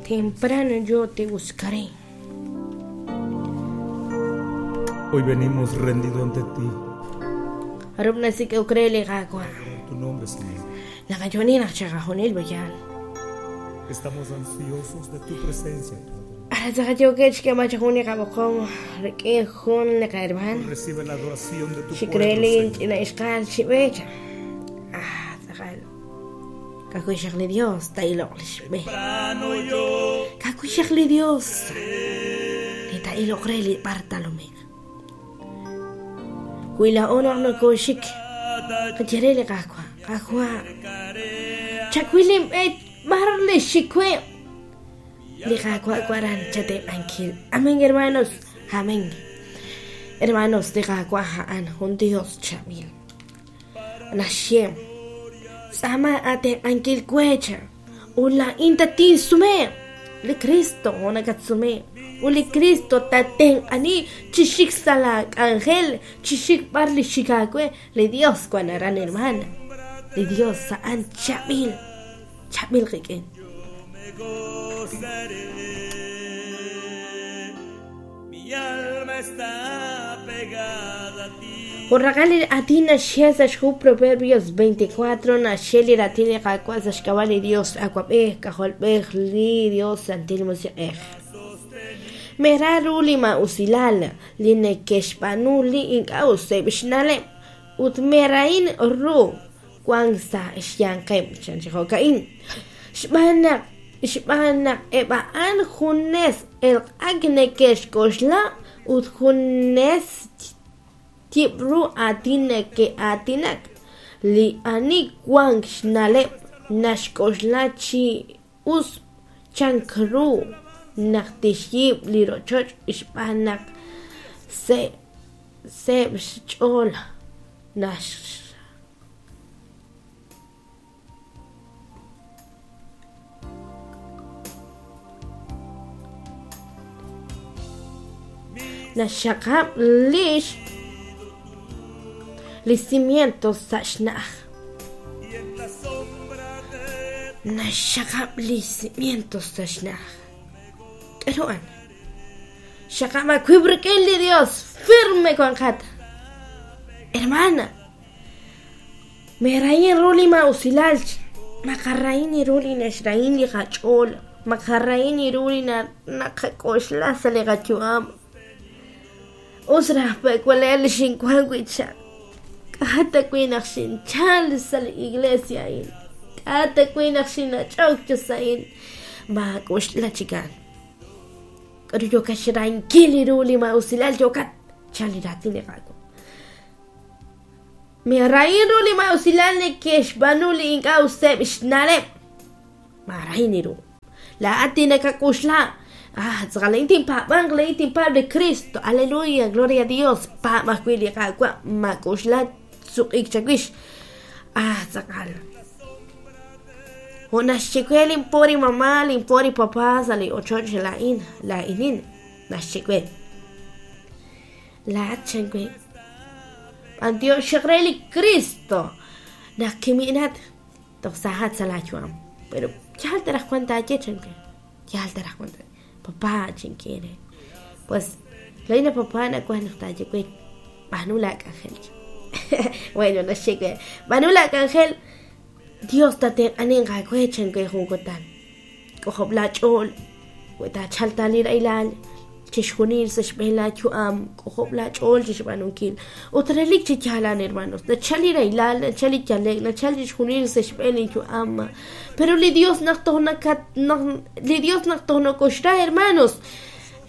Temprano yo te buscaré. Hoy venimos rendido ante ti. Jarub' nasik'ok re li Qaawa'. Tu nombre, Señor. Naqayu'ani naq chiqajunil b'ayal. Estamos ansiosos de tu presencia. Ara tz'aqal yookeb' xk'eeb'al chi jun li qab'oqom rik'in jun li qahermaan. Recibe la adoración de tu Xik re pueblo. li Señor. ch'ina ixqal chi b'eech. Ah, tz'aqal. Ka'ajwi' xaq li Dios ta'iloq li xb'e. Ka'ajwi' xaq li Dios li ta'iloq re li Bartolomé. Wi laa'o naq nokooxik qaye re li Qaawa', Qaawa', chawil inb'e b'ar li xik we. Li Qaawa' waran chatenq'ankil. Amén, hermanos. Amén. Hermanos, li Qaawa' a'an jun Dios chaab'il. Naxye, tz'aama atenq'ankil wecha. Ut laa'in tatinsume. Li Cristo nakatsume. Ut li Cristo tatenq'ani chi xik sa' la k'anjel, chi xik b'ar li xik aawe. Li Dios wan aran, hermana. Li Dios a'an chaab'il. Chaab'il qik'in. Mi alma está pegada a ti. Jun raqal li aatin naxye sa' xhu Proverbios 24 naxye li raatin li Qaawa' sa' xk'ab'a' li Dios Awab'ej, K'ajolb'ej, li Dios Santil Musiq'ej. Mera ru li maa'usilal li neke'xb'aanu li ink'a' useb' xna'leb' ut merahin ru wank sa' xyanqeb' chan chi jo'ka'in. Xb'aan naq xb'aan naq eb' a'an junes elq'ak neke'xk'oxla ut junes yib' ru aatin neke'aatinak. Li ani wank xna'leb' naxk'oxla chi us chank ru naq tixyiib' li rochoch xb'aan naq seeb' xch'ool nax naxxaqab' lix li cimientos sa' xna'aj. Y en la sombra de Naxxaqab' li cimientos sa' xna'aj. K'aru an? Xaqab' aawib' rik'in li Dios, firme wanqat. Hermana, merahin ru li maa'usilal, maqarrahin ru li naxrahin li qach'ool, maqarrahin ru li naqak'oxla sa' li qayu'am. Us raj pe'walel li xinwan wi' cha. K'a' ta wi' naq xinchal sa' li iglesia a'in. K'a' ta wi' naq xinach'ok chi sa' a'in. Maak'oxla chikan. K'aru yookat xrahinkil ru li maa'usilal yookat chal li raatin li Qaawa'. Merahin ru li maa'usilal neke'xb'aanu li ink'a' useb' xna'leb'. Maarahin ru. Laa'at tinakak'oxla. Ah, tz'aqal laa'in tinpaab'anq, laa'in tinpaab' li Cristo. Aleluya, gloria a Dios. Paab' ajwi' li Qaawa', maak'oxla suq'ik chawix. Ah, tz'aqal. Jo' naxye we linpori mamá, linpori papá sa' li ochoch laa'in, laa'inin naxye we. Laa'at chan we. B'antiox re li Cristo. Naq kimi'nat toj sajat sa' laayu'am. Pero yaal ta raj wan taaye chan we. Yaal ta raj wan taaye. Papá chinkiere. Pues laa'in papá nakuaj naq taaye we. B'aanu laak'anjel. Bueno, naxye we. B'aanu laak'anjel. Dios tatenq'anin aawe chan we jun kutan. K'ojob' laach'ool. Wi taachal ta li rahilal chixjunil sa' xb'een laayu'am, k'ojob' laach'ool chixb'aanunkil. Ut relik chi yaalan, hermanos, nachal li rahilal, nachal li yalek, nachal chixjunil sa' xb'een linyu'am. Pero li Dios naq toj nakat naq li Dios naq toj nokoxra, hermanos,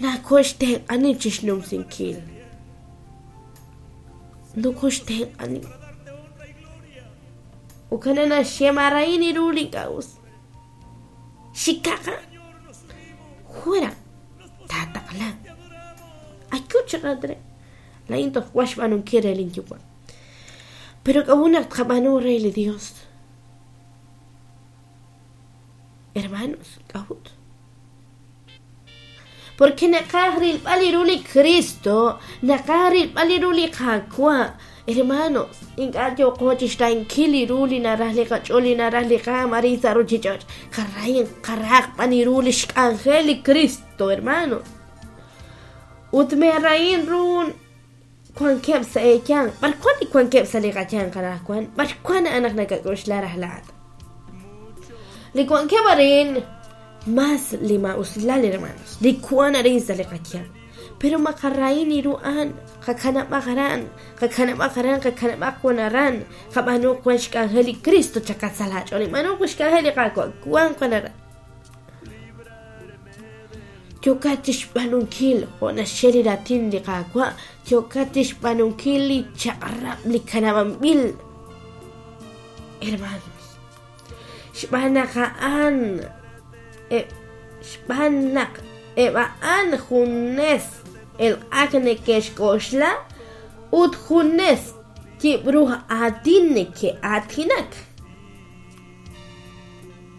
nakoxtenq'ani chixnumsinkil. Nokoxtenq'ani. Ukana naxye marahin ru li ink'a' us. Xikaqa. Fuera. Tataqla. Ayu chaqatre. Laa'in toj wax b'aanunkil re linyuwa'. Pero k'a'ut naq tqab'aanu re li Dios. Hermanos, k'a'ut. Porque naqaj rilb'al li ru li Cristo, naqaj rilb'al li ru li Qaawa'. Hermanos, ink'a' yooqo chixrahinkil li ru li naraj li qach'ool, li naraj li qaam arin sa' ruchich'och'. Qarahin, qarahaq b'an ru li xk'anjel li Cristo, hermanos. Ut meerahin ru wankeb' sa' eeyanq. B'ar wan li wankeb' sa' li qayanq anaqwan? B'ar wan a'an naq nakak'oxla raj laa'at? Li wankeb' arin mas li maa'usilal, hermanos. Li wan arin sa' li qayanq. Pero maqarahin ru a'an, qakanab'aq aran, qakanab'aq aran, qakanab'aq wan aran, qab'aanu wan xk'anjel li Cristo chakatz sa' laach'ool, b'aanu wan xk'anjel li Qaawa', wan wan aran. Yookat chixb'aanunkil jo' naxye li raatin li Qaawa', yookat chixb'aanunkil li chaq'rab' li kanab'anb'il. Hermanos, xb'aan naq a'an xb'aan naq eb' a'an junes elq'ak neke'xk'oxla ut junes yib'ru aatin neke'aatinak.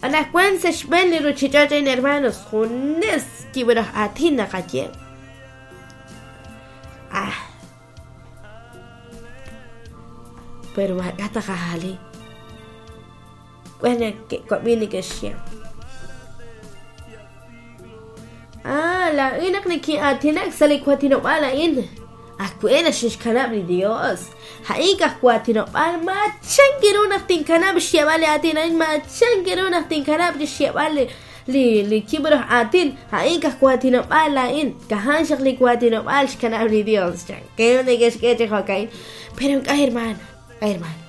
Anaqwan sa' xb'een li ruchich'och' a'in, hermanos, junes yib'ru aatin naqaye. Ah. Pero maak'a' taqajali. Wan ke'wab'i neke'xye. Ah, laa'in naq nekin'aatinak sa' li waatinob'aal a'in. Ajwe' naxinxkanab' li Dios. A'in kaj waatinob'aal, machan kiru naq tinkanab' xyeeb'al li aatin a'in, machan kiru naq tinkanab' xyeeb'al li li yib'ru aatin. A'in kaj waatinob'aal a'in. Kajan xaq li waatinob'aal xkanab' li Dios. Chan ke neke'xk'e chi jo'ka'in. Pero ink'a' hermano, hermano.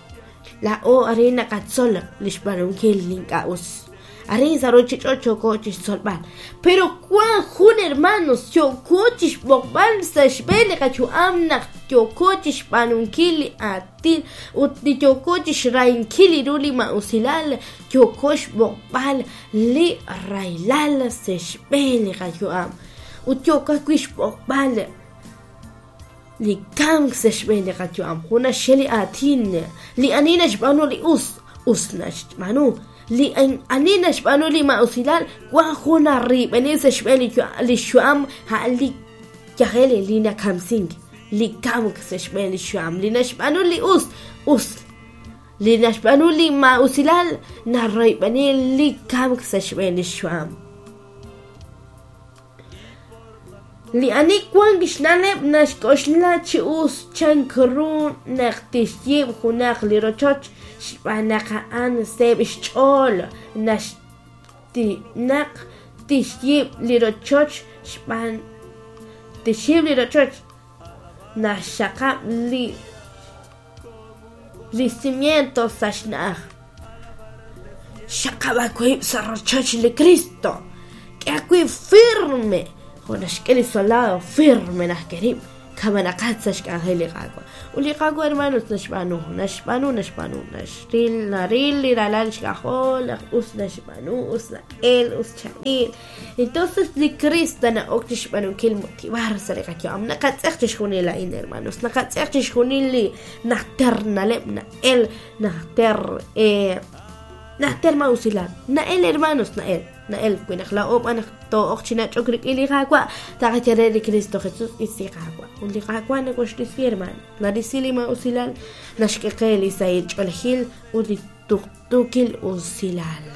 Laa'o arin naqatzol li xb'aanunkil li ink'a' us. Arin sa' ruchich'och' yooko chixtzolb'al. Pero wan jun hermanos yooko chixb'oqb'al sa' xb'een li qayu'am naq yooko chixb'aanunkil li aatin ut li yooko chixrahinkil li ru li ma'usilal, yooko xb'oqb'al li rahilal sa' xb'een li qayu'am. Ut yooko ajwi' xb'oqb'al li kamk sa' xb'een li qayu'am. Jun naxye li aatin, li ani naxb'aanu li us, us naxb'aanu. Li ani naxb'aanu li ma'usilal, wan jun narib'eni sa' xb'een li xyu'am, a'an li yajel li nakamsink, li kamk sa' xb'een li xyu'am. Li naxb'aanu li us, us. Li naxb'aanu li ma'usilal, narib'eni li kamk sa' xb'een li xyu'am. Li ani wan xna'leb' naxk'oxla chi us chank ru naq tixyiib' junaq li rochoch xb'aan naq a'an seeb' xch'ool naq tixyiib' li rochoch xb'aan tixyiib' li rochoch naxxaqab' li cimiento sa' xna'aj. Xaqab' aawib' sa' rochoch li Cristo. K'e aawib' firme. Jo' naxk'e li soldado firme naq kerib' kamanaqat sa' xk'anjel li Qaawa'. Ut li Qaawa', hermanos, naxb'aanu, naxb'aanu, naxb'aanu, naxril, naril li ralal xk'ajol, naq us naxb'aanu, us na'el, us chaab'il. Entonces li Cristo na'ok chixb'aanunkil motivar sa' li qayu'am. Naqatz'eq chixjunil a'in, hermanos. Naqatz'eq chixjunil li najter na'leb' na'el, najter najter ma'usilal. Na'el, hermanos, na'el. Na'el, wi naq laa'o b'an naq too'oq chi nach'ok rik'in li Qaawa', taqaye re li Cristo Jesus isi Qaawa'. Ut li Qaawa' nakoxrisi, hermano. Narisi li ma'usilal, naxk'e qe li sahil ch'oolejil ut li tuqtuukil usilal.